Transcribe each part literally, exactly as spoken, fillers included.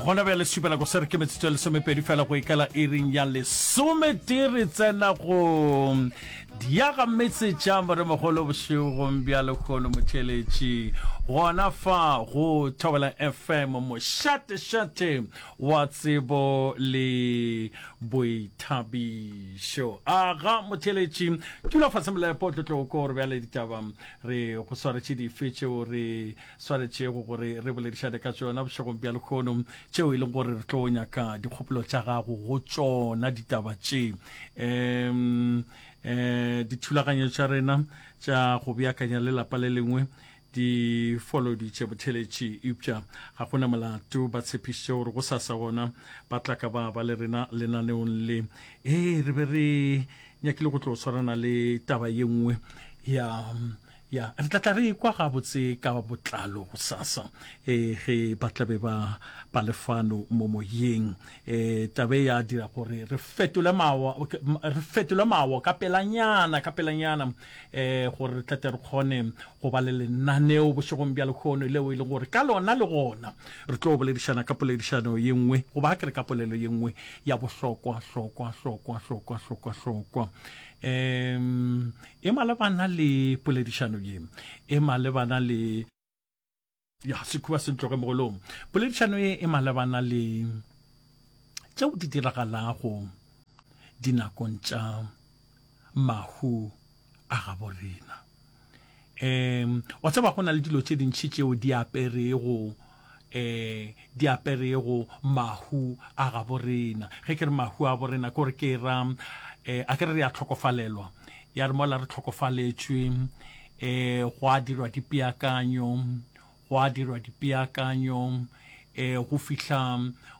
Gona bjale šupela go se re ke metsotso e lesomepedi fela go ikela iring ya lesometee re tsena go diaga metse tša moremogolo bošegong bja lehono motheeletši gona fa go Thobela F M mošatešate wa tsebo le boithabišo. Aga motheeletši, dula fase molepo tlo tlo ko gore bjale ditaba re go swaretše dife tšeo re swanetšego gore re boledišane ka tšona bošegong bja lehono, tšeo e leng gore re tlo nyaka dikgopolo tša gago go tšona ditaba tše. Um um dithulaganyo tša rena tša go beakanya le lapa le lengwe di foloditše botheletši, eupša ga go na molato, ba tshepišitše gore go sasa gona ba tla ka ba ba le rena lenaneong le. Ee, re be re nyakile go tlo swarana le taba ye nngwe ya Ya, re tla tla re ekwa gabotse ka botlalo gosasa, e, ge ba tla be ba, ba le fano mo moyeng. E, taba e ya dira gore re fetole mawa, re fetole mawa ka pelanyana, ka pelanyana, e, gore re tle tle re kgone go ba le lenaneo bošegong bja lehono leo e leng gore ka lona le gona re tlo boledišana ka poledišano ye nngwe, goba ke re ka polelo ye nngwe ya bohlokwa, hlokwa, hlokwa, hlokwa, hlokwa, hlokwa. Um e malebana le poledišano ye, e malebana le ya sekhuba se ntloge mogolong. Poledišano ye e malebana le tšeo di diragalago dinakong tša mahu a gabo rena. Um wa tseba go na le dilo tše dintši tšeo di aperego um di aperego mahu a gabo rena. Ge ke re mahu a gabo rena ke gore ke ra um a ke re re a hlokofalelwa, ya re mola re hlokofaletšwe um go a dirwa dipeakanyo, go a dirwa dipeakanyo um go fihla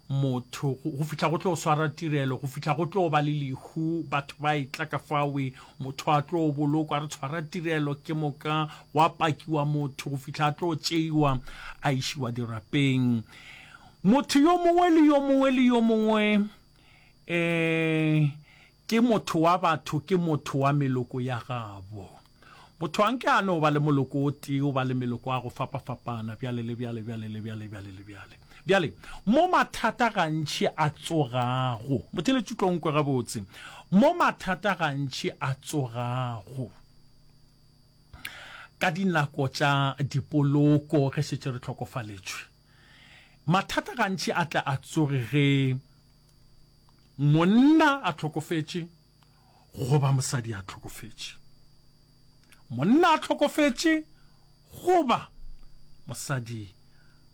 motho, go fihla go tlo swara tirelo, go fihla go tlo ba le lehu, batho ba etla ka fawe, motho a tlo bolokwa, re tshwara tirelo, ke moka gwa pakiwa motho go fihla a tlo tšeiwa a išiwa dirapeng. Motho yo mongwe le yo mongwe le yo mongwe um ke motho wa batho, ke motho wa meloko ya gabo. Motho a nke a no ba le moloko o tee, o ba le meloko a go fapafapana, bjale le bjale, bjale le bjale, bjale le bjale. Bjale, mo mathata gantši a tsogago, motheeletši tlo nkwe gabotse, mo mathata gantši a tsogago ka dinako tša dipoloko ge šetše re hlokofaletšwe, mathata gantši a tle a tsoge ge monna a hlokofetše goba mosadi a hlokofetše. Monna a hlokofetše goba mosadi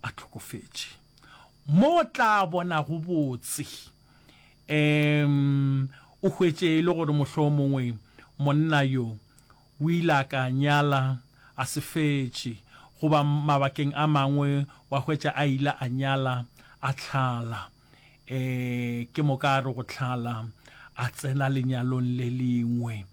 a hlokofetše. Mo o tla bonago botse, um o hwetše e le gore mohlomongwe monna yo o ile a ka nyala a se fetše, goba mabakeng a mangwe wa hwetša a ile a nyala a hlala. E, ke moka a re go hlala, a tsena lenyalong le lengwe.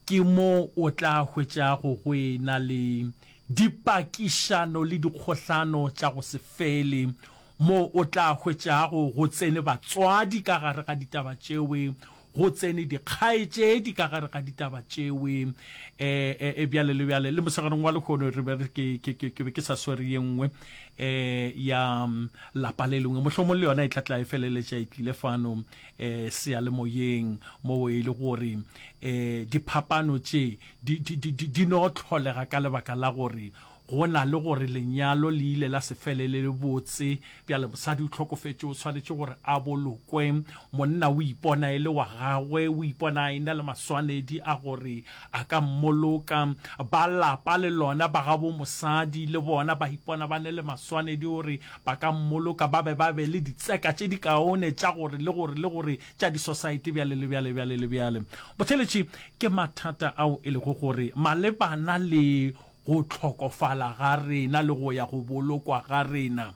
Ke mo o tla hwetšago go e-na le dipakišano le dikgohlano tša go se fele, mo o tla hwetšago go tsene batswadi ka gare ga ditaba tšewe, go tsene dikgaetšedi ka gare ga ditaba tšewe, e, e, e, bjale le bjale. Le mosegareng wa lehono re be re, ke, ke, ke, ke be ke sa swere ye nngwe e, ya lapa le lengwe, mohlomong le yona e tla tla e feleletša e tlile fano e, seyalemoyeng, moo e le gore e, diphapano tše di, di, di, di, di no hlolega ka lebaka la gore go na le gore lenyalo le ile la se felele le botse. Bjale mosadi o hlokofetše, o swanetše gore a bolokwe. Monna o ipona e le wa gagwe, o ipona a e-na le maswanedi a gore a ka mmoloka. Ba lapa le lona ba gabo mosadi le bona ba ipona ba ne le maswanedi gore ba ka mmoloka, ba be ba be le ditseka tše dikaone tša gore le gore le gore tša disosaete bjale le bjale bjale le bjale. Botheletši ke mathata ao e lego gore malebana le go hlokofala ga rena le go ya go bolokwa ga rena,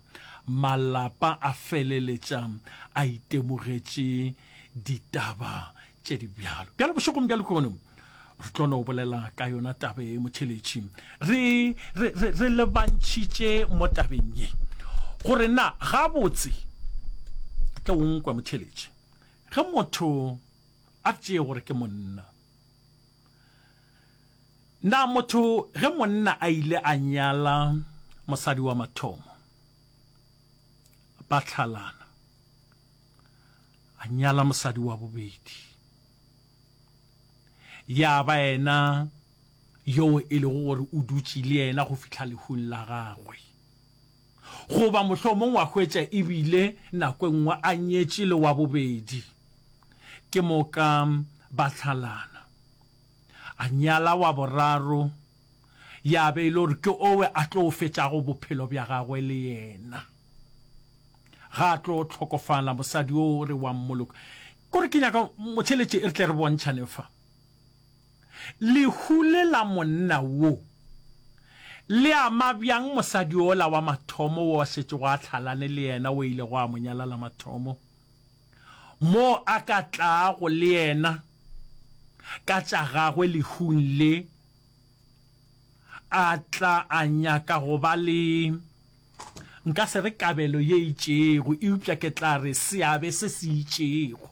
malapa a feleletša a itemogetše ditaba tše di bjalo. Bjale bošegong bja lehono re tlo no bolela ka yona taba ye, motheletši. Re, re, re, re lebantšhitše mo tabeng ye gore na gabotse tle o nkwe motheletši ge motho a tšee gore ke monna. Na motho ge monna a ile a nyala mosadi wa mathomo, ba hlalana, A nyala mosadi wa bobedi. Ya ba yena yoo e lego gore o dutše le yena go fihla lehung la gagwe. Goba mohlomong wa hwetša e bile nako e nngwe a nyetše le wa bobedi, ke moka ba hlalana. A nyala wa boraro, ya be e le gore ke owe a tlo fetšago bophelo bja gagwe le yena. Ga a tlo hlokofala, mosadi o re wa mmoloka. Kore ke nyaka motheeletši re tle re bontšhane fa. Lehu le la monna wo le ama bjang mosadi wola wa mathomo wo a šetšego a hlalane le yena wo ilego a mo nyala la mathomo? Mo a ka tlago le yena ka tša gagwe lehung le, a tla a nyaka go ba le, nka se re kabelo ye itšego, eupša ke tla re seabe se se itšego.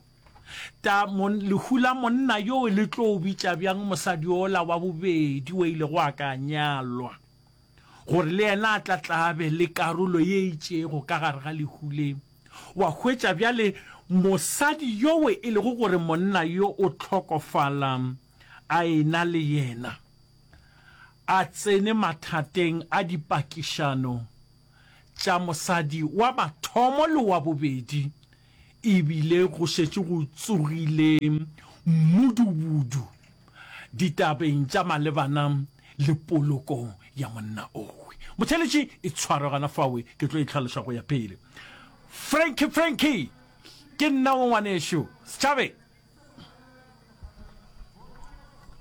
Ta, mon, lehu la monna yoo le tlo bitša bjang mosadi yola wa bobedi o ilego a ka nyalwa, gore le yena a tla tla be le karolo ye itšego ka gare ga lehu le? Wa hwetša bjale mosadi yoo e lego gore monna yo o hlokofala a e-na le yena, a tsene mathateng a dipakišano tša mosadi wa mathomo le wa bobedi, e bile go šetše go tsogile mmudubudu ditabeng tša malebana le poloko ya monna owe. Motheeletši e tshwarwe gona fawe, ke tlo e hlaloša go ya pele. Frankie, Frankie, ke nna wo ngwanešu. Setšhabeng.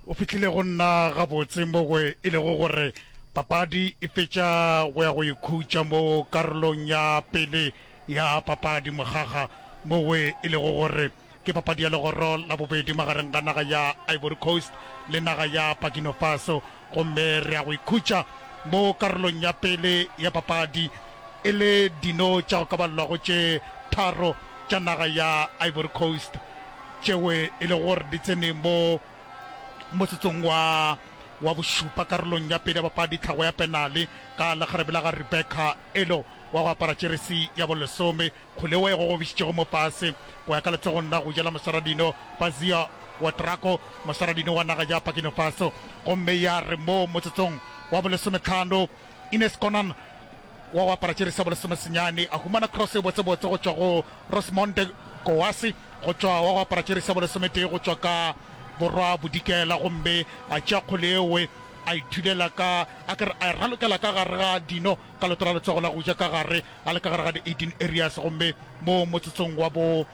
O fihlile go nna gabotse mo e lego gore papadi e fetša go ya go ikhutša mo karolong ya pele ya papadi mogaga mo e lego gore ke papadi ya legoro la bobedi magareng ga naga ya Ivory Coast le naga ya Burkina Faso gomme re ya go ikhutša mo karolong ya pele ya papadi e le dino tša go ka balelwago tše tharo tša naga ya Ivory Coast tšeo e lego gore di tsene mo motsotsong wa wa bošupa karolong ya pele ya papadi tlhago ya penale ka lekgarebe la ga Rebecca Elo wa go apara jeresi ya bolesome kgole wo e gogobišitšego mo fase go ya ka letsogong la go ja la moswaradino Bazia Ouedraogo moswaradino wa naga ya Burkina Faso gomme ya re mo motsotsong wa bolesometlhano Ines Konan wa go apara jeresi ya bolesomesenyane a humana cross e botsebotse go tšwa go Rosemonde Kouassi go tšwa wa go apara jeresi ya bolesometee go tšwa ka borwa bodikela gomme a tšea kgole ewe a ithulela ka a kere a e ralokela ka gare ga dino ka leoto la letsogo la go ja ka gare a le ka gare ga di eighteen areas gomme mo motsotsong wa bo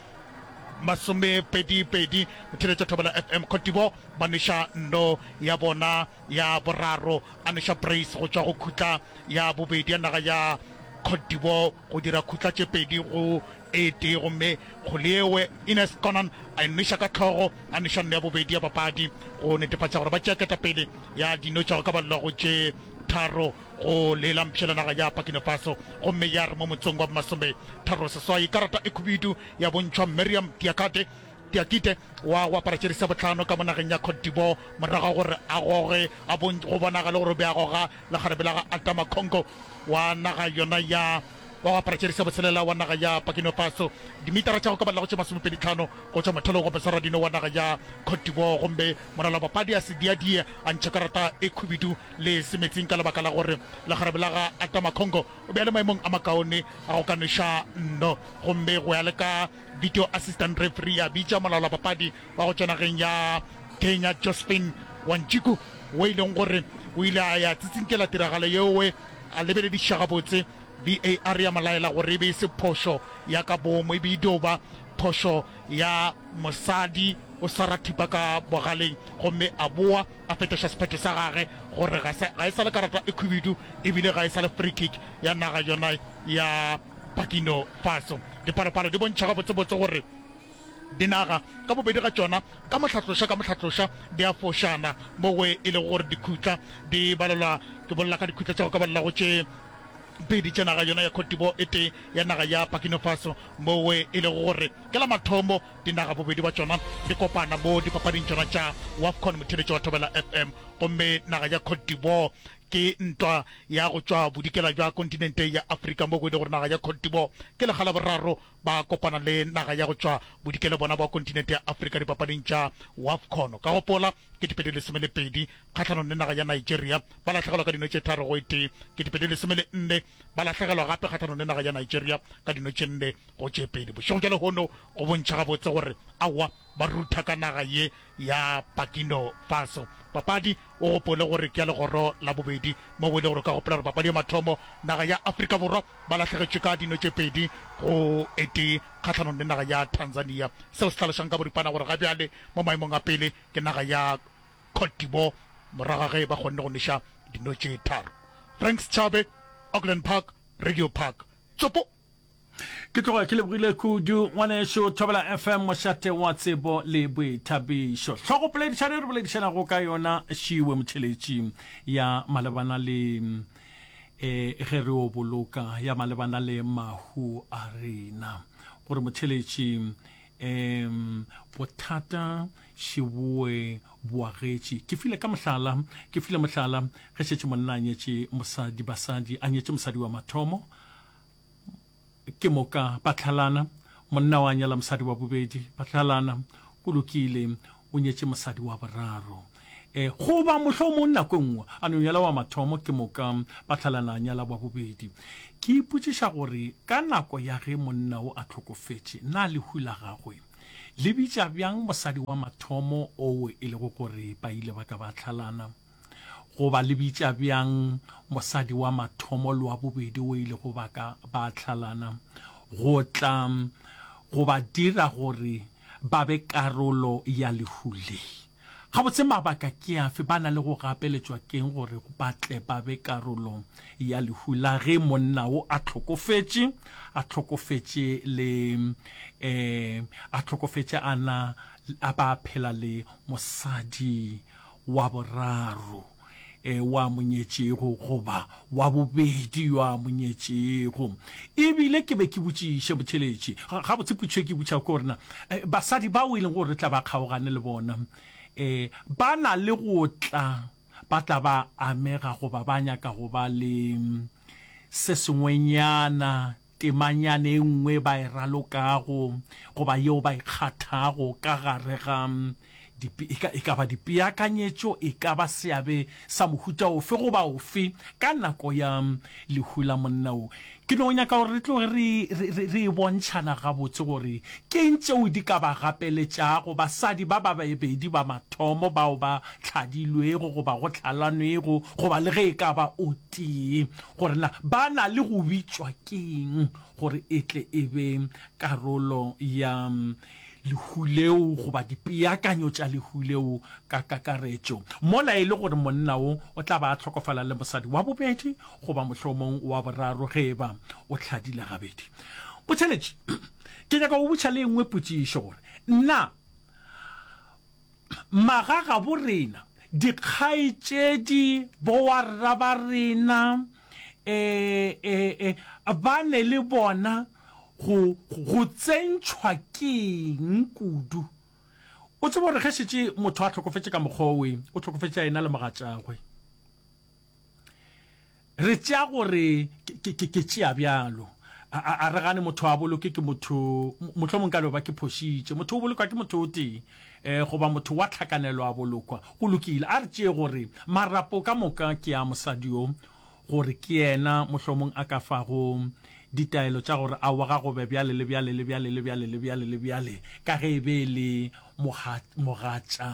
masomepedi pedi motheeletša Thobela F M Cote d'Ivoire ba nweša nno ya bona ya boraro a nweša brace go tšwa go khutla ya bobedi ya naga ya Cote d'Ivoire go dira khutla tše pedi go e tee gomme kgole Ines Konan a e nweša ka hlogo a nweša nno ya bobedi ya papadi go netefatša gore ba tšea ketapele ya dino tša go ka balelwa go tše tharo go lela mpšhela naga ya Burkina Faso gomme ya re mo motsong wa masome tharo seswai karata e khubidu ya bontšhwa Miriam Diakate Diakite wa go apara jeresi ya bohlano ka mo nageng ya Cote d'Ivoire morago ga gore a goge a go bonagale gore o be a goga lekgarebe la ga Adama Congo wa naga yona ya wa go apara jeresi ya botshelela wa naga ya Burkina Faso dimitara tša go ka balela go tše masomepedi tlhano go tšwa mothalong wa moswaradino wa naga ya Cote d'Ivoire gomme moralo wa papadi a se diadie a ntšha karata e khubidu le semetsing ka lebaka la gore lekgarebe la ga Adama Congo o be a le maemong a makaone a go ka nweša nno gomme go ya le ka video assistant referee a bitša molao wa papadi wa go tšwa nageng ya Kenya Josephine Wanjiku wo e leng gore o ile a ya tsitsinkela tiragalo yeowe a lebelediša gabotse V A R ya mo laela gore e be e se phošo ya ka boomo e be e dio ba phošo ya mosadi o swara thipa ka bogaleng gomme a boa a fetoša sephetho sa gage gore ga se ga e sa le karata e khubidu ebile ga e sa le free kick ya naga yona ya Burkina Faso. Dipalopalo di bontšha gabotsebotse gore dinaga ka bobedi ga tšona ka mohlatloša ka mohlatloša di a fošana mo e lego gore dikhutla di balelwa ke bolela ka dikhutla tša go ka balela go tše pedi tša naga yona ya Cote d'Ivoire e tee ya naga ya Burkina Faso mo e lego gore ke la mathomo dinaga bobedi ba tšona di kopana mo dipapading tšona tša WAFCON motheeletši wa Thobela F M gomme naga ya Cote d'Ivoire Ke ntwa ya go tšwa bodikela bja kontinente ya Afrika mo go e le gore naga ya Cote d'Ivoire ke lekga la boraro ba kopana le naga ya go tšwa bodikela bona bwa kontinente ya Afrika dipapading tša WAFCON. Ka gopola, ketepedi lesome le pedi kgahlanong le naga ya Nigeria ba lahlegelwa ka dino tše tharo go e tee, ketepedi lesome le nne ba lahlegelwa gape kgahlanong le naga ya Nigeria ka dino tše nne go tše pedi. Bošego bja lehono go bontšha gabotse gore aowa ba rutha ka naga ye ya Burkina Faso. Papadi o gopole gore ke ya legoro la bobedi mo go e le gore o ka gopola gore papadi ya mathomo naga ya Afrika Borwa ba lahlegetšwe ka dino tše pedi go e tee kgahlanong le naga ya Tanzania. Seo se hlalošang ka boripana gore ga bjale mo maemong a pele ke naga ya Cote d'Ivoire morago ga ge ba kgonne go nweša dino tše tharo. Frank Schabe, Auckland Park, Radio Park. Tsopo! Ke tloga ke lebogile kudu ngwanešu Thobela F M mošate wa tsebo le boithabišo. Hlogopoledišano e re boledišanago ka yona šiwe motheletši ya malebana le e ge re o boloka ya malebana le mahu a rena. Gore motheletši em bothata šiboe boagetše. Ke file ka mohlala, ke file mohlala ge šetše monna a nyetše mosadi, basadi a nyetše mosadi wa mathomo ke moka ba tlhalana, monna wa nyala mosadi wa bobedi, ba tlhalana, go lokile, o nyetše mosadi wa boraro. E, goba mohlomong nako e nngwe a no nyala wa mathomo, ke moka ba tlhalana a nyala wa bobedi. Ke ipotšiša gore ka nako ya ge monna o a hlokofetše, na lehu la gagwe le bitša bjang mosadi wa mathomo oo e lego gore ba ile ba ka ba tlhalana? Goba le bitša bjang mosadi wa mathomo le wa bobedi o ilego ba ka ba tlhalana go tla go ba dira gore ba be karolo ya lehu le? Gabotse mabaka ke afe? Ba na le go gapeletšwa ke'ng gore ba tle ba be karolo ya lehu la ge monna wo a hlokofetše, a hlokofetše le um a hlokofetše a na a ba phela le mosadi wa boraro e wa monyetšego goba wa bobedi yo a monyetšego. E bile ke be ke botšiše motheletši, gabotse potšišo e ke botšago ke gore na basadi bao e leng gore re tla ba kgaogane le bona e ba na le go tla ba tla ba amega goba ba nyaka go ba le se sengwenyana temanyana e nngwe ba e ralokago goba yeo ba e kgathago ka gare ga e ka, e ka ba dipeakanyetšo, e ka ba seabe sa mohuta ofe goba ofe ka nako ya lehu la monna wo. Ke no nyaka gore re tloge re, re, re, re e bontšhana gabotse gore ke eng tšeo di ka ba gapeletšago basadi ba ba babedi ba mathomo bao ba hladilwego goba go hlalanwego goba le ge e ka ba o tee, gore na ba na le go bitšwa keng gore e tle e be karolo ya lehu leo goba dipeakanyo tša lehu leo ka kakaretšo, mola e le gore monna wo o tla ba a hlokofala le mosadi wa bobedi goba mohlomong wa boraro ge e ba o hladile gabedi. Botheletši, ke nyaka go botša le engwe potšišo gore na magagabo rena, dikgaetšedi, bowarra ba rena, e, e, e, ba ne le bona go, go tsentšhwa keng kudu? O tsebe gore ge šetše motho a hlokofetše ka mokgwa owe, o hlokofetše a ena le mogatšagwe. Re tšea gore ke, ke, ke tšea bjalo. A, a, a re gane motho a boloke ke motho, mohlomong ka no ba ke phošitše. Motho o bolokwa ke motho o tee, eh, goba motho wa tlhakanelo a bolokwa. Go lokile. A re tšee gore marapo ka moka ke a mosadi yo, gore ke yena mohlomong a ka fago ditaelo tša gore aowa ga go be bjale le bjale le bjale le bjale le bjale le bjale, ka ge e be e le mogatša,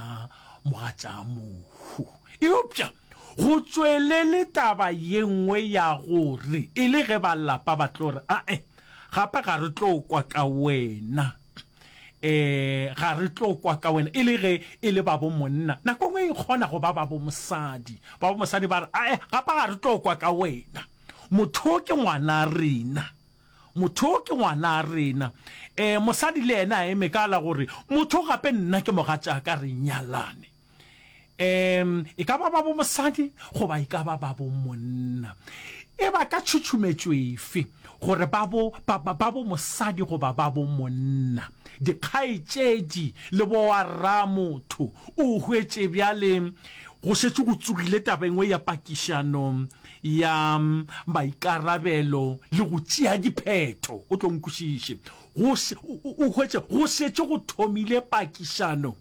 mogatša mohu. Eupša go tšwelele taba ye nngwe ya gore e le ge ba lapa ba tlo re, Ae, gape ga re tlo kwa ka wena. E, ga re tlo kwa ka wena. E le ge e le ba bo monna, nako nngwe e kgona go ba ba bo mosadi. Ba bo mosadi ba re, Ae, gape ga re tlo kwa ka wena. Motho ke ngwana rena. Motho ke ngwana rena. E, mosadi le yena a eme ka la gore, motho gape nna ke mogatšaka, re nyalane. Um e ka ba ba bo mosadi goba e ka ba ba bo monna. E ba ka tšhutšhumetšo efe gore ba bo, ba, ba, ba bo mosadi goba ba bo monna, dikgaetšedi le bowarramotho, o hwetše bjale Go šetše go tsogile taba e nngwe ya pakišano ya maikarabelo le go tšea diphetho. O tlo nkwešiše. Go, o hwetše go šetše go thomile pakišano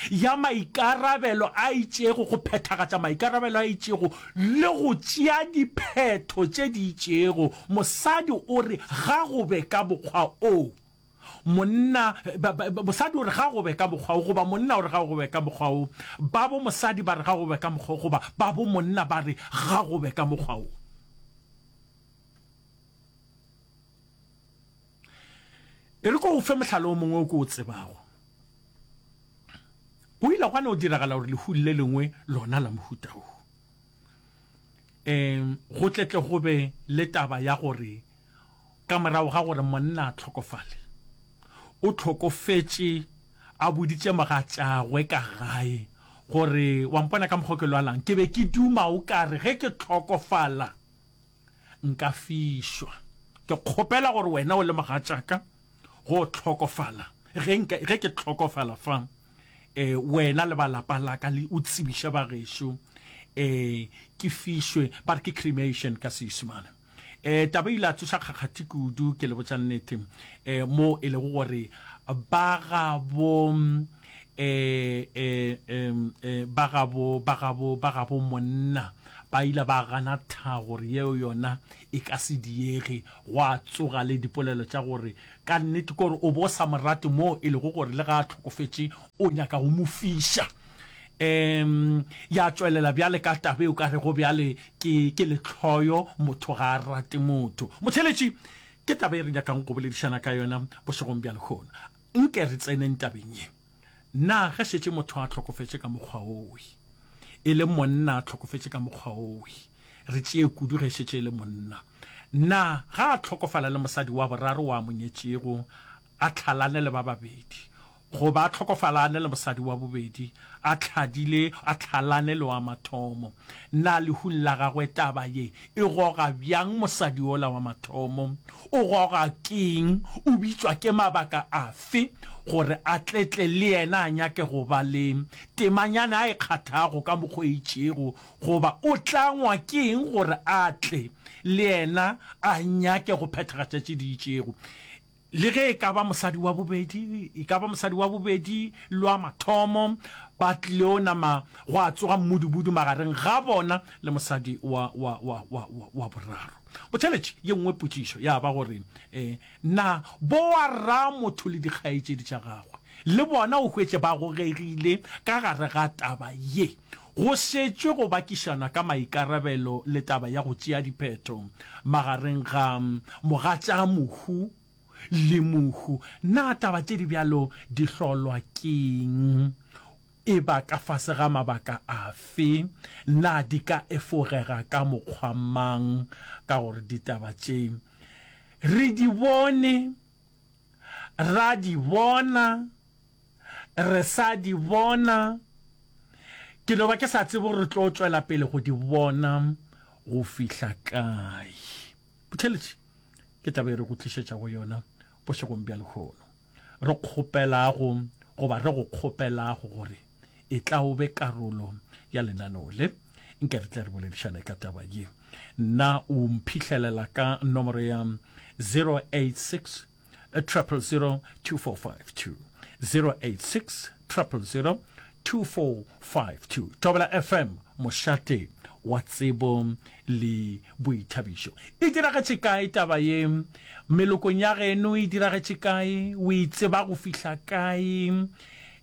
ya maikarabelo a itšego, go phethagatša maikarabelo a itšego le go tšea diphetho tše di itšego. Mosadi o re ga go be ka mokgwa o. Monna, ba, ba, mosadi o re ga go be ka mokgwa wo, goba monna o re ga go be ka mokgwa wo. Ba bo mosadi ba re ga go be ka mokgwa wo, goba ba bo monna ba re ga go be ka mokgwa wo. E re ko go fe mohlala o mongwe o ke o tsebago. Go ile gwa no diragala gore lehu le lengwe lona la mohuta wo. Um go tle tle go be le taba ya gore ka morago ga gore monna a hlokofale, o hlokofetše a boditše mogatšagwe ka gae gore, Wa mpona ka mokgwa o ke lwalang, ke be ke duma o ka re ge ke hlokofala nka fišwa. Ke kgopela gore wena o le mogatšaka go hlokofala, ge nka, ge ke hlokofala fa, eh, wena le ba lapa la ka le o tsebiše ba gešo, eh, ke fišwe, ba re ke cremation ka Seisemane. Eh, taba e ile ya tsoša kgakgathi kudu, ke le botša nnete, eh, mo e lego gore ba gabo, eh, eh, eh, eh, ba gabo, ba gabo, ba gabo monna ba ile ba gana tha gore yeo yona e ka se diege. Gwa tsoga le dipolelo tša gore ka nnete ke gore o bo sa mo rate mo e lego gore le ga a hlokofetše o nyaka go mo fiša. Um ya tšwelela bjale ka taba e o ka rego bjale ke, ke lehloyo, motho ga a rate motho. Motheeletši, ke taba e re nyakang go boledišana ka yona bošegong bja lehono. Nke re tseneng tabeng ye. Na ge šetše motho a hlokofetše ka mokgwa owe, e le monna a hlokofetše ka mokgwa owe, re tšee kudu ge šetše e le monna, na ga a hlokofala le mosadi wa boraro wa a mo nyetšego, a hlalane le ba babedi, goba a hlokofalane le mosadi wa bobedi, a hladile, a hlalane le wa mathomo, na lehung la gagwe taba ye e goga bjang mosadi yola wa mathomo? O goga keng? O bitšwa ke mabaka afe gore a tle tle le yena a nyake go ba le temanyana a e kgathago ka mokgwa o itšego, goba o tlangwa ke eng gore a tle le yena a nyake go phethagatša tše di itšego? Le ge e ka ba mosadi wa bobedi, e ka ba mosadi wa bobedi le wa mathomo, ba tlileo nama gwa tsoga mmudubudu magareng ga bona le mosadi wa, wa, wa, wa, wa, wa boraro. Botheletši, ye nngwe potšišo ya ba gore, e, na bowa motho le dikgaetšedi tša gagwe le bona o hwetše ba gogegile ka gare ga taba ye? Go šetšwe go bakišana ka maikarabelo le taba ya go tšea diphetho magareng ga mogatšamohu le mohu. Na taba tše di bjalo di hlolwa ke'ng? E ba ka fase ga mabaka afe? Na di ka efogega ka mokgwa mang? Ka gore ditaba tše re di bone, ra di bona, re sa di bona, ke no ba ke sa tsebe gore re tlo tšwela pele go di bona go fihla kae. Botheletši ke taba e re go tlišetšago yona bošegong bja lehono. Re kgopelago goba re go kgopelago gore e tla o be karolo ya lenaneo le. Nke re tle re boledišane ka taba ye. Nna o mphihlelela ka nomoro ya zero eight six triple zero two four five two, zero eight six triple zero two four five two. Thobela F M, mošate wa tsebo le boithabišo. E diragetše kae taba ye? Melokong ya geno e diragetše kae? O e tseba go fihla kae?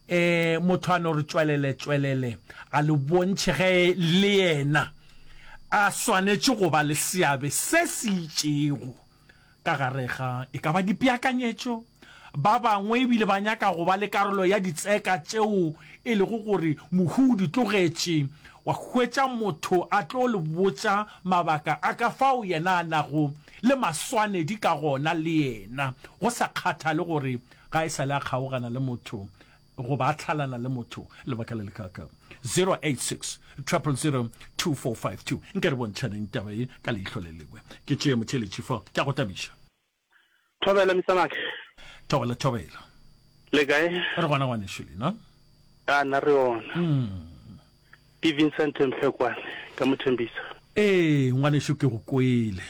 E, motho a no re tšwelele tšwelele a le bontšhe ge le yena a swanetše go ba le seabe se se itšego ka gare ga e ka ba dipeakanyetšo. Ba bangwe ebile ba nyaka go ba le karolo ya ditseka tšeo e lego gore mohu o di tlogetše. Wa hwetša motho a tlo le botša mabaka a ka fao yena a nago le maswanedi ka gona le yena, go sa kgathale gore ga e sa le a kgaogana le motho goba a hlalana le motho lebaka le lekaakang. Zero eight six triple zero two four five two. Nke re bontšhaneng taba ye ka leihlo le lengwe. Ke tšee motheeletši fa, ke a go tabiša. Thobela, Mister Mark. Thobela, thobela. Le kae? Re gona ngwanešu lena. A nna re yona. Mm. Ke Vincent Mphekwane ka Mothembisa. Ee, ngwanešu ke go kwele.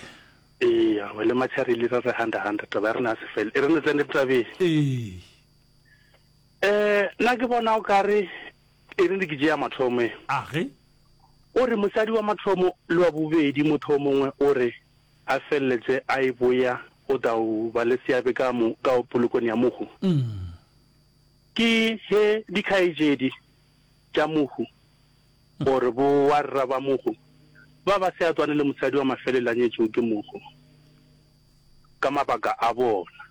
Eya, we le Matšharili re re handa handa taba ya rena ya se fele. E re ne tsene tabeng. Ee. Eh, nna ke bona o kare e re ke tšea mathomo e. Age. O re mosadi wa mathomo le wa bobedi motho o mongwe o re a feleletše a e boya o tla o ba le seabe ka mo ka polokong ya mohu. Mm. Ke he dikgaetšedi tša mohu gore bo warra ba mohu ba ba se atswane le mosadi wa mafelelo a nyetšwego ke mohu ka mabaka a bona.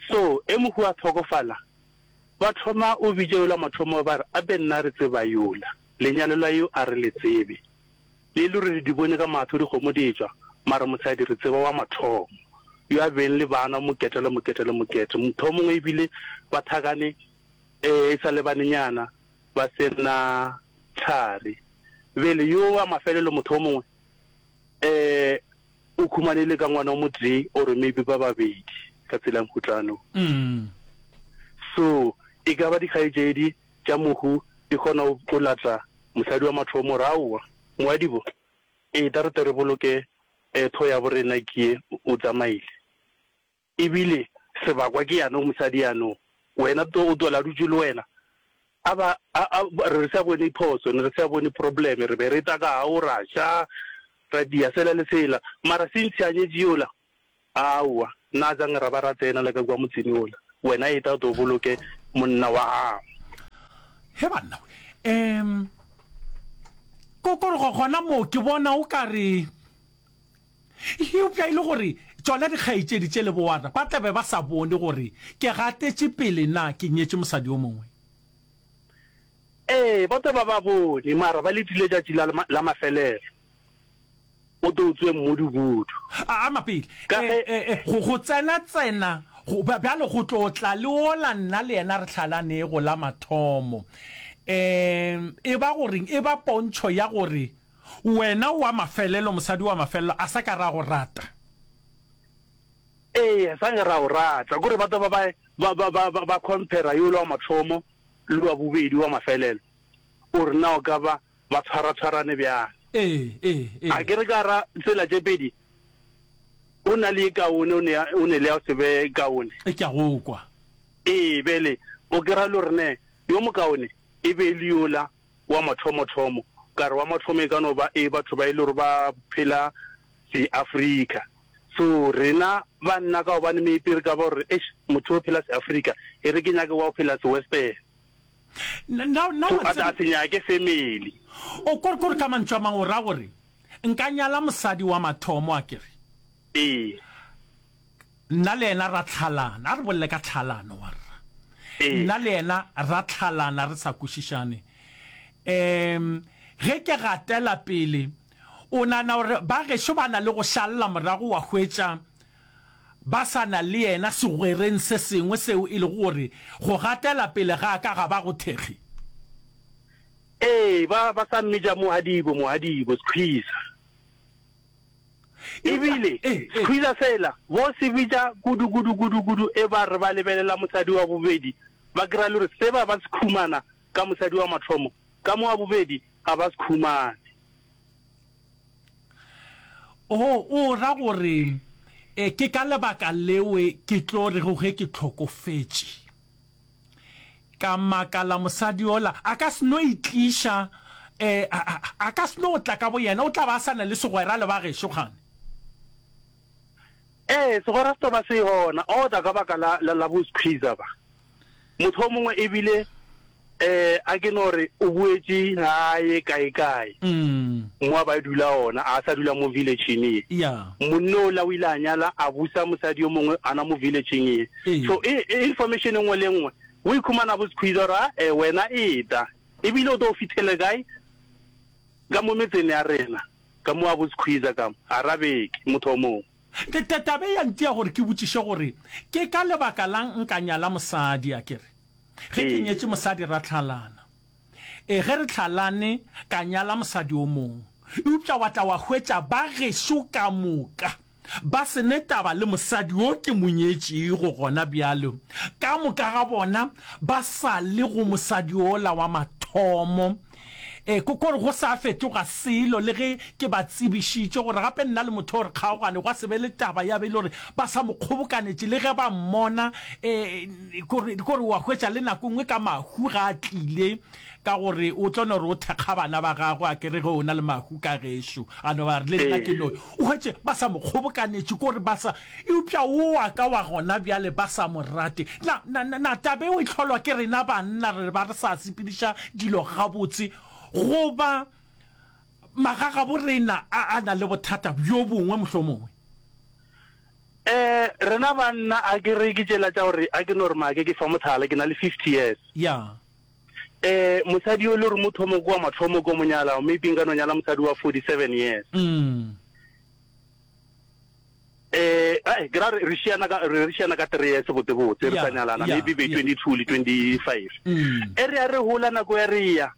So e mohu a hlokofala ba thoma o bitša yola mathomo ba re ape nna re tseba yola, lenyalo la yo a re le tsebe. Le le re di bone ka mahlo dikgomo di etšwa, mara mosadi re tseba wa mathomo yo a beng le bana mokete le mokete le mokete. Mohlomongwe ebile ba thakane e sa le banenyana ba se na thari. Bjale yo wa mafelelo motho o mongwe um o khumanele ka ngwana o motee or maybe ba babedi ka tsela ya mohutlano. So e ka ba dikgaetšedi tša mohu di kgona go lata mosadi wa mathomo gore aowa moadibo eta re tle re boloke tho ya borena ke ye o tsamaile. Ebile sebakwa ke yano mosadi yano wena to o tlola dutše le wena a ba a a re sa bone phoso ne re sa bone problem re be re tla ka gao ra ja ra dia sela le sela mara since a nyetše yola aowa nna jang ra ba ra tsena le ka kua motseng yola wena eta o tlo boloke monna wa gago. He banna we um ko ko re gona moo ke bona o ka re Eupša e le gore tšona dikgaetšedi tše le bowarra ba tla be ba sa bone gore ke gatetše pele na ke nyetše mosadi yo mongwe. Ee, ba tla ba ba bone, mara ba letile tšatši la, la mafelelo. O tlo tswe mmudubudu. A ama pele. Ka ge. E, e, go, go tsena-tsena, go, bjale go tlo tla le wola nna le yena re hlalanego la mathomo. E, e ba goreng? E ba pontšho ya gore Wena wa mafelelo, mosadi wa mafelelo, a sa ka ra go rata. Ee, a sa ka ra go rata. Kore ba tlo ba ba, ba, ba, ba, ba compare yola wa mathomo le wa bobedi wa mafelelo, gore na o ka ba ba tshwara-tshwarane bjang. Ee, ee, ee. A ke re ka ra tsela tše pedi, o na le ye kaone, o ne, o ne le ya go se be kaone. Ke a go kwa. Ee, bjale o kry-a le gore ne yo mokaone e be e le yola wa mathomothomo, ka re wa mathomo e ka no ba e batho ba e le gore ba phela se-Afrika. So rena banna ka gobane maybe re ka ba gore eish motho o phela se-Afrika, e re ke nyake wa go phela se-Western. Na, na, na So wa a tseba. se nyake family. O kore, kore ka mantšu a mangwe o ra gore nka nyala mosadi wa mathomo, a ke re? Ee. Nna le yena ra tlhalana. A re bolele ka tlhalano, warra. Ee. Nna le yena ra tlhalana re sa kwešišane. Um ge ke gatela pele, o nagana gore ba gešo ba na le go šalela morago wa hwetša ba sa na le yena segwereng se sengwe seo e lego gore go gatela pele ga ka ga ba go thekge? Ee, ba, ba sa mmitša Mohadibo, Mohadibo, Skhwiza. Eupša, Ebile, ee, ee. Skhwiza sela, bo se bitša kudu, kudu, kudu, kudu, e ba re ba lebelela mosadi wa bobedi, ba kry-a le gore se ba ba se khumana ka mosadi wa mathomo, ka mo wa bobedi ga ba se khumane. O, o ra gore e, ke ka lebaka lewe ke tlo rego ge ke hlokofetše, ka makala mosadi yola a ka se no itliša, e, a, a, a ka se no tla ka boyena, o tla ba a sa na le segwera le ba gešo kgane. Ee, segwera se tlo ba se gona, o tla ka baka la, la, la bo Skhwiza ba. Motho o mongwe ebile um a ke no re o boetše gae kae-kae mo a ba dula gona, a sa dula mo village-ing ye. Yeah. Monna ola o ile a nyala a busa mosadi yo mongwe ana mo village-ing ye. Ee. So e, e information e nngwe le e nngwe o ikhumana bo Skhwiza gore a e wena eta ebile o tlo fithele kae ka mo metseng ya rena ka mo a bo Skhwiza ka mo gara beke motho o mongwe. Taba e ya ntia gore ke botšiše gore ke ka lebaka la'ng nka nyala mosadi, a ke re ge ke nyetše mosadi ra hlalana. Ee, ge re hlalane ka nyala mosadi o mongwe, eupša wa tla wa hwetša ba gešo ka moka ba se ne taba le mosadi yo ke mo nyetšego gona bjale, ka moka ga bona ba sa le go mosadi yola wa mathomo. E, ko gore go sa fetoga selo le ge ke ba tsebišitše gore gape nna le motho o re kgaogane, gwa se be le taba ya be e le gore ba sa mo kgobokanetše le ge ba mmona. E, kore, kore wa hwetša le nako nngwe ka mahu ga a tlile, ka gore o tlo no re o thekga bana ba gagwe, a ke re ge o na le mahu ka gešo, a no ba re le nna ke no, o hwetše ba sa mo kgobokanetše, kore ba sa, eupša wo wa ka wa gona bjale ba sa mo rate. Na, na, na, na taba eo e hlolwa ke rena banna re ba re sa sepediša dilo gabotse, goba magagabo rena a, a na le bothata bjo bongwe mohlomongwe? Eh, rena banna a ke re ke tšela tša gore a ke no re make ke fa mohlala, ke na le fifty years. Ya. Eh, mosadi yo le gore mo thomo kwa mathomo ko mo nyala, maybe nka no nyala mosadi wa forty-seven years. Mm. Eh, ai, ke ra re re šiana ka, re re šiana ka three years botse botse, re Ya, sa nyalana, ya, maybe be ya. twenty-two le twenty-five. Mm. E re ya re hola nako ya re ya.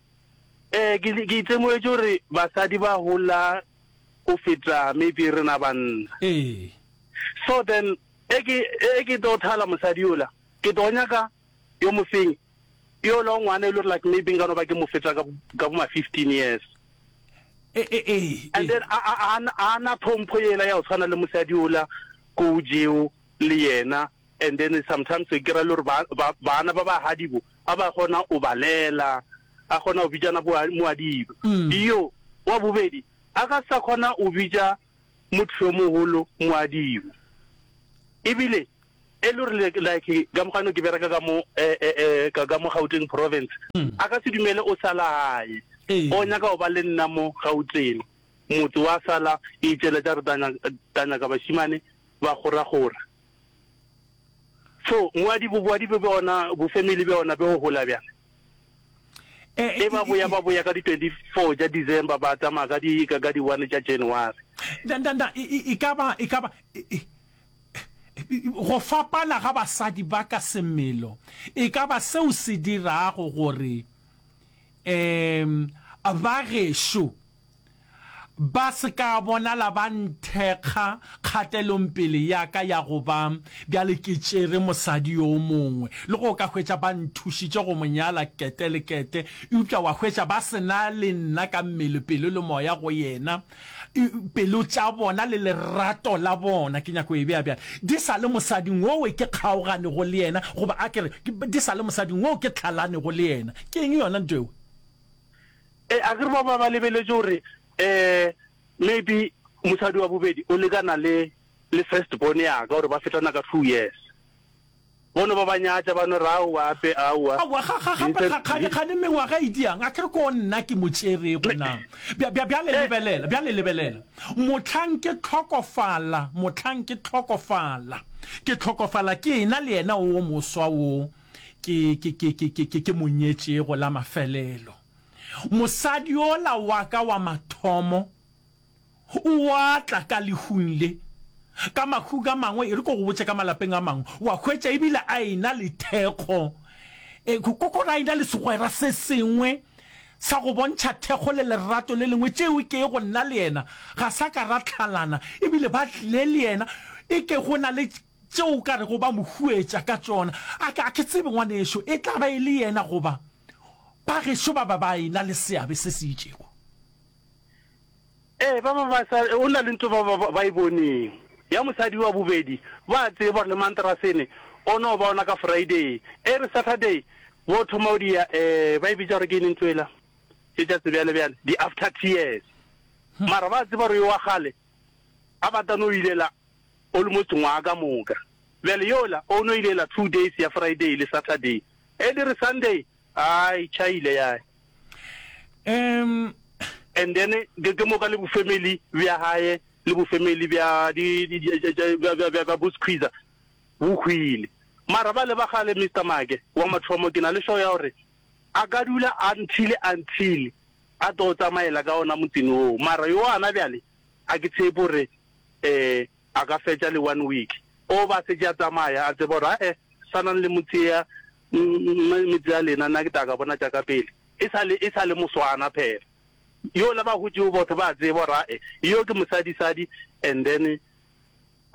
Eh, ke, ke itsemoetše gore basadi ba hola go feta maybe rena banna. Ee. So then, e ke, e ke tlo thala mosadi yola, ke tlo nyaka yo mofeng, yola o ngwana e le gore like maybe nka no ba ke mo feta ka, ka bo ma fifteen years. E, e, e, And e. then a, a, a, a na tlhompho yela ya go tshwana le mosadi yola ko jeo le yena. And then sometimes ke ra le gore ba, ba, bana ba ba hadibo, a ba kgona o balela, a kgona go bitšana bo moadibo. Mm. Yo wa bobedi a ka sa kgona o bitša motho yo mogolo moadibo. Ebile e le gore like, like ka mokgwa ke bereka ka mo, eh, eh, eh, ka, ka mo Gauteng province, Mm. a ka se dumele o sala hae. Ee. O nyaka go ba le nna mo Gauteng. Motse wa sala e itšela tša re tanya, tanya ka bashimane ba gora-gora. So moadibo, boadibo bja ona, bo family bja ona bo hola bjang? Eh, E ba boya, ba boya ka di twenty-four tša December, ba tsamaya ka di, ka, ka di one tša January. Da, da, da, e, e, e ka ba, e ka ba, e, e, go fapana ga basadi ba ka semelo e ka ba seo se dirago gore um ba gešo ba se ka bonala ba nthekga kgatelong pele ya ka ya go ba bjale ke tšere mosadi yo mongwe, le go ka hwetša ba nthušitše go mo nyala kete le kete, eupša wa hwetša ba se na le nna ka mmele, pelo le moya go yena. Pelo tša bona le lerato la bona, ke nyako e bea bjale, di sa le mosading wowe ke kgaoganego le yena, goba a ke re, di sa le mosading woo ke tlhalanego le yena. Ke eng yona ntho eo? E, a ke re ba ba ba lebeletše gore eh maybe mosadi wa bobedi o lekana le, le first born ya ka, gore ba fetana ka two years. Bono ba ba nyatša, ba no re aowa, ape, aowa. Aowa, ga, ga, gape, ga, ga, ga ne mengwaga e diang, a ke re ko nna ke mo tšerego na. Bja, bja, bjale lebelela, bjale lebelela. Mohlang ke hlokofala, mohlang ke hlokofala, ke hlokofala ke ena le yena o moswa wo ke, ke, ke, ke, ke, ke, ke mo nyetšego la mafelelo. Mosadi yola wa ka wa mathomo o a tla ka lehung le, ka mahung a mangwe, e re ko go botše ka malapeng a mangwe, wa hwetša ebile a ena le thekgo, e, ko, ko gore a ena le segwera se sengwe sa go bontšha thekgo le lerato le lengwe, tšeo ke go nna le yena ga sa ka ra tlhalana, ebile ba tlile le yena, e ke go na le tšeo ka rego ba mo huetša ka tšona. A ke, a ke tsebe ngwanešo, e tla ba e le yena goba ba gešo ba ba ba ena le seabe se se itšego. Eh, ba ba ba sa, o na le ntho ba ba ba e boneng ya mosadi wa bobedi, ba tseba gore le mantrasene o no ba ona ka Friday, e re Saturday bo thoma o dia, eh, ba e bitša gore ke eng ntho ela tše tša sebjale bjale, di after tears. Mara ba tseba gore yo wa kgale a batla no ilela almost ngwaga ka moka. Bjale yola o no ilela two days ya Friday le Saturday, e di re Sunday ai chaile ya. Um And then ke ke moka le bo family bja hae le bo family bja di di bja bja bja bo squeezer bo hwile. Mara ba le ba gale Mister Make wa mathomo ke na le show ya hore a ka dula until until a tlo tsamaela ka ona motseng oo. Mara yo ana bjale a ke tshepe hore eh a ka fetša le one week. O ba se tša tsamaya a tseba hore eh sanang le motse ya metse ya lena nna ke tla ka bona tša ka pele. E sa le e sa le moswana phela. Yo la ba hotšego botho ba tseba hore eh yo ke mosadisadi, and then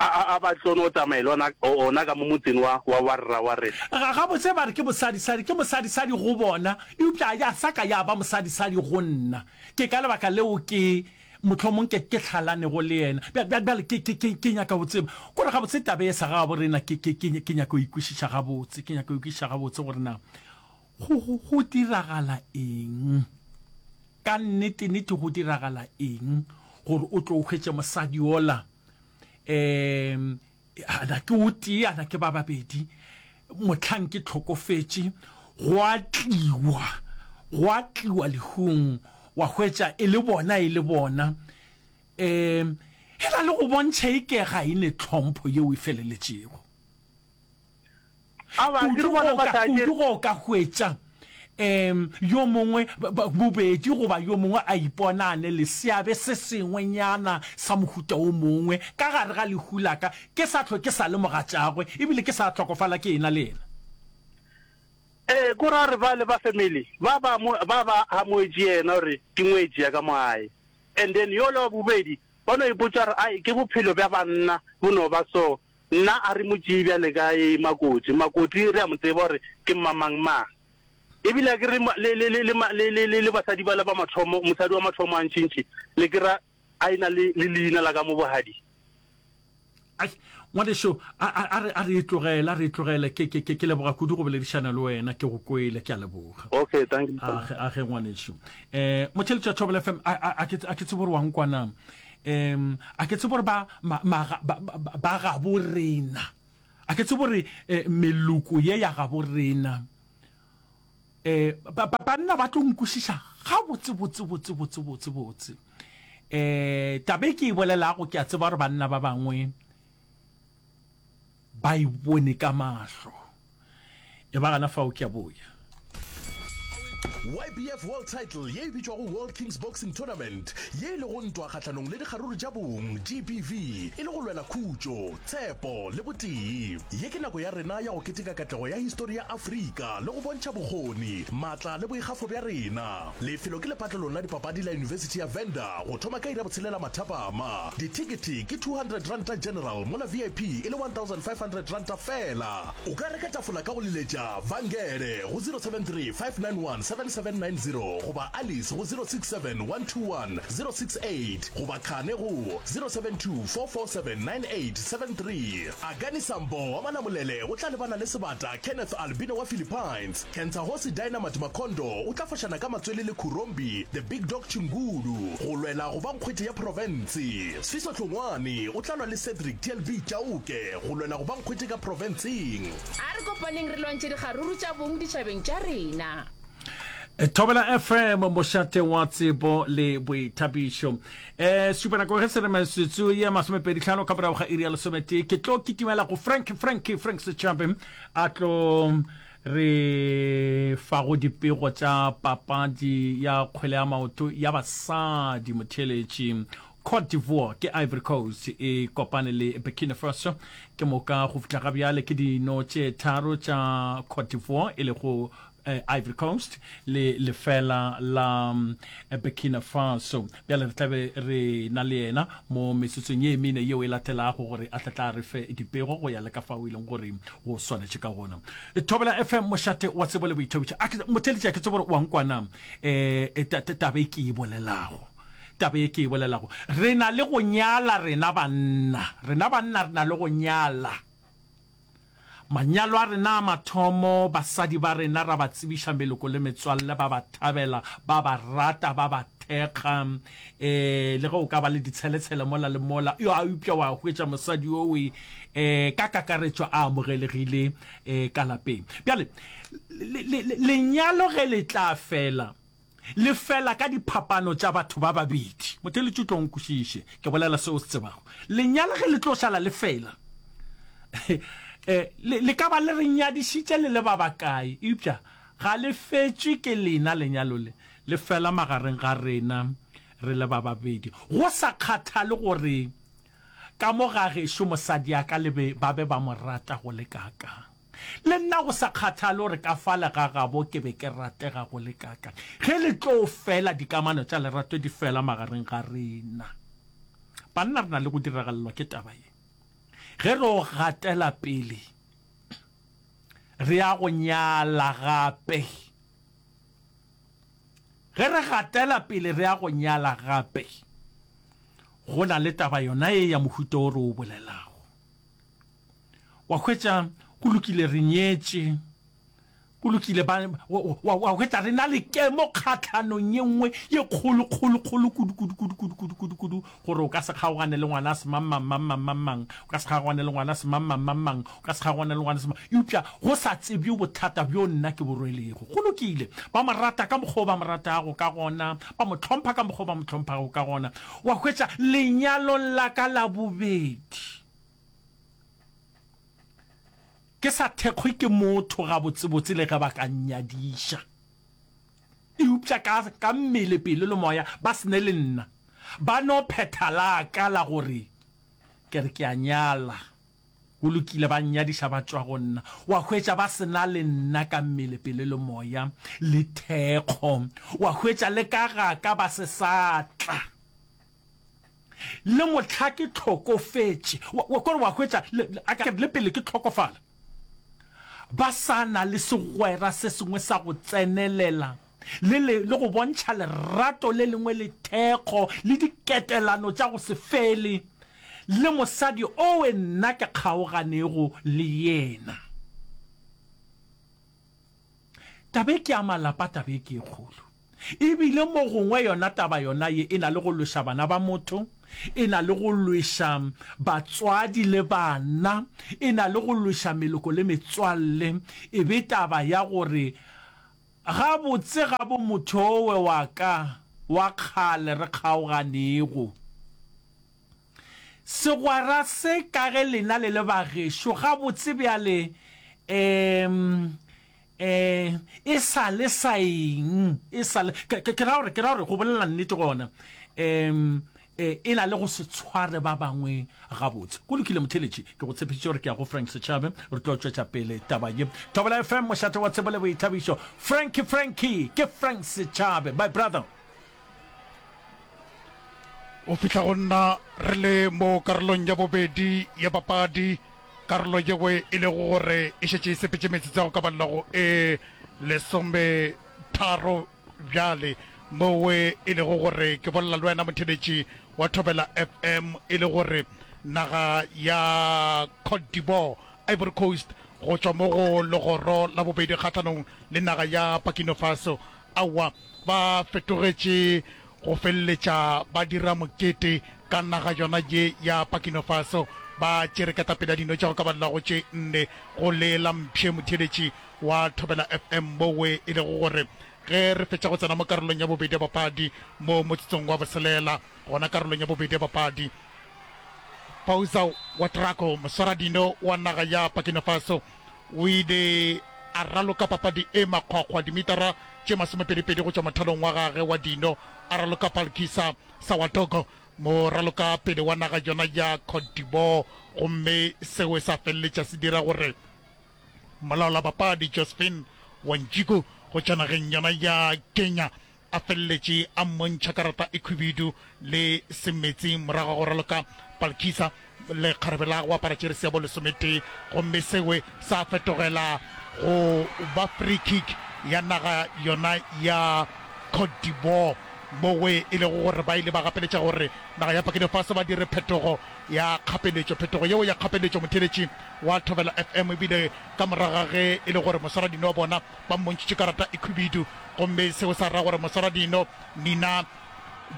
A, a, a ba tlo no tsamaela ona, ona ka mo motseng wa, wa warra wa rena. Ga, gabotse ba re ke mosadisadi, ke mosadisadi go bona, eupša ya sa ka ya ba mosadisadi go nna. Ke ka lebaka leo ke, mohlomong ke, ke hlalanego le yena. Bja, bja, bjale ke, ke, ke, ke nyaka go tseba. Kore gabotse taba ye sa gabo rena, ke, ke, ke, ke nyaka go e kwešiša gabotse, ke nyaka go e kwešiša gabotse gore na go, go, go diragala eng. Ka nnete, nnete go diragala eng gore o tlo hwetše mosadi yola, um ana ke o tee ana ke ba babedi mohlang ke hlokofetše go a tliwa go a tliwa lehung wa hwetša e le bona e le bona um e na le go bontšha e ke ga e ne tlhompho yeo e feleletšego kudu go ka hwetša um yo mongwe bobedi goba yo mongwe a ipona a ne le seabe se sengwenyana sa mohuta o mongwe ka gare ga lehu la ka, ke sa hlwe ke sa le mogatšagwe ebile ke sa hlokofala ke ena le yena. Ee, ko ra re bale ba family ba ba ba ba amoetše yena gore ke ngwetši ya ka mo gae and then yola wa bobedi ba no ipotša gore ai ke bophelo bja banna bo no ba so, nna a re mo tšee bjale ka e makoti, makoti re a mo tseba gore ke mmamang mang. Ebile a ke re le, le, le, le, le, le, le basadi bale ba mathomo, mosadi wa mathomo a ntšintši, le ke ra a e-na le, le leina la ka mo bogadi. Ai, ngwanešu, a, a, a re, a re e tlogele, a re e tlogele. Ke, ke, ke, ke leboga kudu go boledišana le wena, ke go kwele, ke a leboga. Okay, thank you. Age, age ngwanešu. Eh, motheeletši wa Thobela F M, a, a, a ke, a ke tsebe gore wa nkwa na. Um, a ke tsebe gore ba, ma, ma, ba, ba, ba gabo rena. A ke tsebe gore, eh, meloko ye ya gabo rena, eh, ba, ba, banna ba tlo nkwešiša gabotse, botse, botse, botse, botse, botse. Eh, taba e ke e bolelago, ke a tseba gore banna ba bangwe ba e bone ka mahlo. E ba gana fao ke a boya. Y B F World Title ye e bitšwago World Kings Boxing Tournament, ye e lego ntwa kgahlanong le dikgaruru tša bong, G B V, e le go lwela khutšo, tshepo le botee. Ye ke nako ya rena ya go keteka katlego ya histori ya Afrika le go bontšha bokgoni, maatla le boikgafo bja rena. Lefelo ke lepatlelong la dipapadi la Yunibesithi ya Venda go thoma ka iri ya botshelela mathapama. Dithekethe ke two hundred ranta general mola V I P e le one thousand five hundred ranta fela. O ka reka tafola ka go leletša Vangele go zero seven three five nine one seven seven nine zero goba Alice go zero six seven one two one zero six eight goba Khane go zero seven two four four seven nine eight seven three. Akani Sambo wa Malamulele o tla lebana le sebata Kenneth Albino wa Philippines. Kentsahosi Dynamite Makondo o tla fošana ka matswele le Khurombi The Big Dog Chingulu go lwela go ba nkgwete ya profense. Sfiso Hlongwane o tla lwa le Cedric T L B Chauke go lwela go ba nkgwete ka profenseng. A re kopaneng re lwantšhe dikgaruru tša bong ditšhabeng tša rena. Thobela F M, mošate wa tsebo le boithabišo. Eh, supa nako ge se re metsotso ye masomepedi hlano ka morago ga iri ya lesometee. Ke tlo kitimela go Frank, Frank, Frank Setšhabe a tlo re fago dipego tša papadi ya kgwele ya maoto ya basadi motheeletši. Côte d'Ivoire ke Ivory Coast e kopane le Burkina Faso ke moka go fihla ga bjale ke dino tše tharo tša Côte d'Ivoire e lego Ivory Coast le lefela la Burkina Faso. Bjale re tlabe re na le yena mo metsotsong ye mene yeo e latelago gore a tla tla re fe dipego go ya le ka fao e leng gore go swanetše ka gona. Thobela F M, mošate wa tsebo le boithabišo. A ke motheeletši, a ke tsebe gore wa nkwana eh taba e ke e bolelago. Taba e ke e bolelago. Re na le go nyala rena banna. Rena banna re na le go nyala. Manyalo a rena a mathomo, basadi ba rena ra ba tsebiša meloko le metswalle, ba ba thabela, ba ba rata, ba ba thekga. Eh, le ge o ka ba le ditsheletshele mola le mola, yo a eupša wa hwetša mosadi yowe, eh, ka kakaretšo a amogelegile, eh, ka lapeng. Bjale, lenyalo ge le tla fela, le fela ka diphapano tša batho ba babedi. Motheeletši o tlo nkwešiše, ke bolela seo se tsebago. Lenyalo ge le tlo šala le fela, eh, le, le ka ba le re nyadišitše le le ba bakae, eupša ga le fetšwe ke lena lenyalo le, le fela magareng ga rena re le ba babedi. Go sa kgathale gore ka mo ga gešo mosadi a ka le be ba be ba mo rata go le kaakang. Le nna go sa kgathale gore ka fale ga gabo ke be ke ratega go le kaakang. Ge le tlo fela, dikamano tša lerato di fela magareng ga rena. Banna re na le go diragalelwa ke taba ye. Ge re o gatela pele, re ya go nyala gape. Ge re gatela pele re ya go nyala gape, go na le taba yona ye ya mohuta o re o bolelago. Wa hwetša, go lokile, re nyetše. Go lokile, ba, wa, wa, wa hwetša re na le kemo kgahlanong ye nngwe ye kgolo, kgolo, kgolo kudu, kudu, kudu, kudu, kudu, kudu, kudu, gore o ka se kgaogane le ngwana semang, mang, mang, mang, mang, mang, o ka se kgaogane le ngwana semang, mang, mang, mang, o ka se kgaogane le ngwana semang, eupša go sa tsebje bothata bjo nna ke bo rwelego. Go lokile, ba mo rata ka mokgwa o ba mo ratago ka gona, ba mo hlompha ka mokgwa o ba mo hlomphago ka gona. Wa hwetša, lenyalong la ka la bobedi, Ke sa thekgwe ke motho gabotsebotse le ge ba ka nnyadiša. Eupša ka, ka mmele, pelo le moya ba se ne le nna. Ba no phetha la ka la gore ke re ke a nyala. Go lokile, ba nnyadiša ba tšwa go nna. Wa hwetša ba se na le nna ka mmele, pelo le moya le thekgo. Wa hwetša le ka ga ka ba se sa tla. Le mohla ke hlokofetše, wa, wa, kore wa hwetša, le, le, a ke re, le pele ke hlokofala, ba sa na le segwera se sengwe sa go tsenelela, le, le, le go bontšha lerato le lengwe le thekgo, le diketelano tša go se fele, le mosadi owe nna ke kgaoganego le yena. Taba e ke ya malapa, taba e ke e kgolo. E bile mo gongwe yona taba yona ye e na le go lweša bana ba motho, e na le go lweša batswadi le bana, e na le go lweša meloko le metswalle, e be taba ya gore gabotse gabo motho owe wa ka wa kgale re kgaoganego. Segwera se ka ge lena le le bagešo gabotse bjale, um E, e sa le sa eng? E sa le, ke, ke, ke ra gore, ke ra gore go bolela nnete gona, um, e, e na le go se tshware ba bangwe gabotse. Go lokile, motheeletši, ke go tshepišitše gore ke ya go Frank Setšhabe, re tlo tšwetša pele taba ye. Thobela F M, mošate wa tsebo le boithabišo. Frankie, Frankie, ke Frank Setšhabe, my brother. O fihla go nna re le mo karolong ya bobedi ya papadi, karolo yeo e lego gore e šetše e sepetše metsotso ya go ka balela go e lesometharo bjale, moo e lego gore ke bolela le wena motheeletši wa Thobela F M e le gore naga ya Cote d'Ivoire, Ivory Coast, go tšwa mo go legoro la bobedi kgahlanong le naga ya Burkina Faso. Aowa, ba fetogetše go feleletša ba dira mokete ka naga yona ye ya Burkina Faso. Ba tšere ketapele ya dino tša go ka balela go tše nne go le la mpšhe motheeletši wa Thobela F M mowe e lego gore ge re fetša go tsena mo karolong ya bobedi ya papadi mo motsotsong wa boselela gona karolong ya bobedi ya papadi Pauza Ouedraogo moswaradino wa naga ya Burkina Faso o ile a raloka papadi e makgwakgwa dimitara tše masomepedipedi go tšwa mothalong wa gage wa dino a raloka Palkisa Sawadogo moralokapele wa naga yona ya Cote d'Ivoire gomme seo sa feleletša se dira gore molaolabapadi Josephine Wanjiku go tšwa nageng yona ya Kenya a feleletše a mmontšha karata e khwibidu le semetsi morago ga go raloka Palkisa lekgarebe la go apara jeresi ya bo lesometee gomme seo sa fetogela go ba free kick ya naga yona ya Cote d'Ivoire mowe e lego gore ba ile ba gapeletša gore naga ya Burkina Faso ba dire phetogo ya kgapeletšo. Phetogo yeo ya kgapeletšo motheeletši wa Thobela F M ebile ka morago ga ge e le gore moswaradino wa bona ba mmontšhitše karata e khwibidu gomme seo sa ra gore moswaradino Nina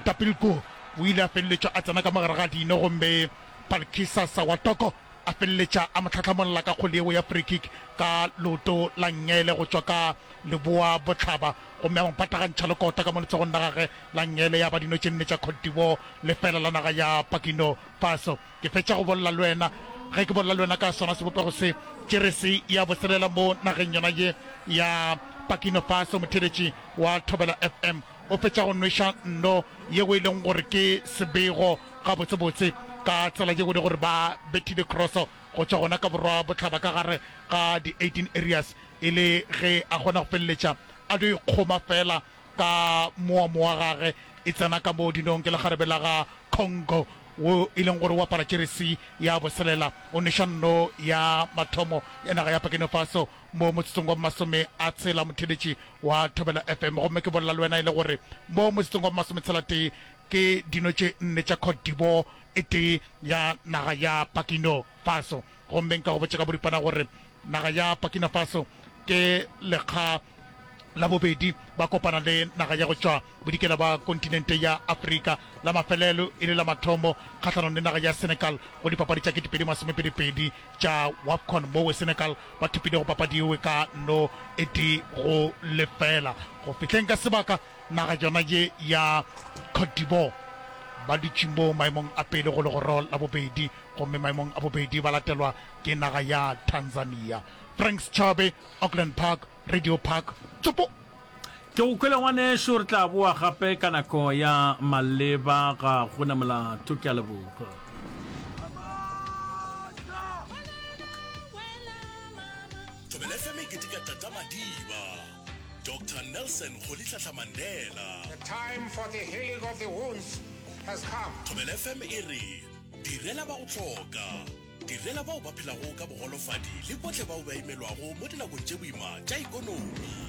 Dapilko o ile a feleletšwa a tsena ka mogare ga dino gomme Palkisa Sawatoko a feleletša a mo hlahlamolla ka kgole yeo ya free kick ka leoto la nngele go tšwa ka leboa bohlaba gomme a mo patagantšha le kota ka mo letsogong la gagwe la nngele ya ba dino tše nne tša Cote d'Ivoire lefela la naga ya Burkina Faso. Ke fetša go bolela le wena ge ke bolela le wena ka sona sebopego se jeresi ya boselela mo nageng yona ye ya Burkina Faso. Motheeletši wa Thobela F M o fetša go nweša nno yeo e leng gore ke sebego gabotsebotse ka tsela yeo e le gore ba bethile crosso go tšwa gona ka borwa bohlaba ka gare ga di eighteen areas e le ge a kgona go feleletša a dio ikgoma fela ka moamo wa gage e tsena ka mo dinong ke lekgarebe la ga Congo wo e leng gore o apara jeresi ya boselela o neša nno ya mathomo ya naga ya Burkina Faso mo motsotsong wa masome a tshela motheletši wa Thobela F M. Gomme ke bolela le wena e le gore mo motsotsong wa masometshela tee ke dino tše nne tša Cote d'Ivoire e tee ya naga ya Burkina Faso. Gomme nka go botša ka boripana gore naga ya Burkina Faso ke lekga la bobedi ba kopana le naga ya go tšwa bodikela ba kontinente ya Afrika, la mafelelo e le la mathomo kgahlanong le naga ya Senegal go dipapadi tša ketepedi masomepedi pedi tša WAFCON mowe Senegal ba thopilego papadi yewe ka no e tee go lefela. Go fihleng ka sebaka naga yona ye ya Cote d'Ivoire ba dutše mo maemong a pele go legoro la bobedi gomme maemong a bobedi ba latelwa ke naga ya Tanzania. Franks Chabe, Auckland Park, Radio Park, Tsopo. Ke go kwele ngwanešu, re tla boa gape ka nako ya maleba, ga go na molato, ke a leboga. Thobela F M e keteka Tata Madiba, Doctor Nelson Rolihlahla Mandela. The time for the healing of the wounds has come. Thobela F M e re, Direla ba go hloka. Direla bao ba phelago ka bogolofadi le bohle bao ba imelwago mo dinakong tše boima tša ikonomi.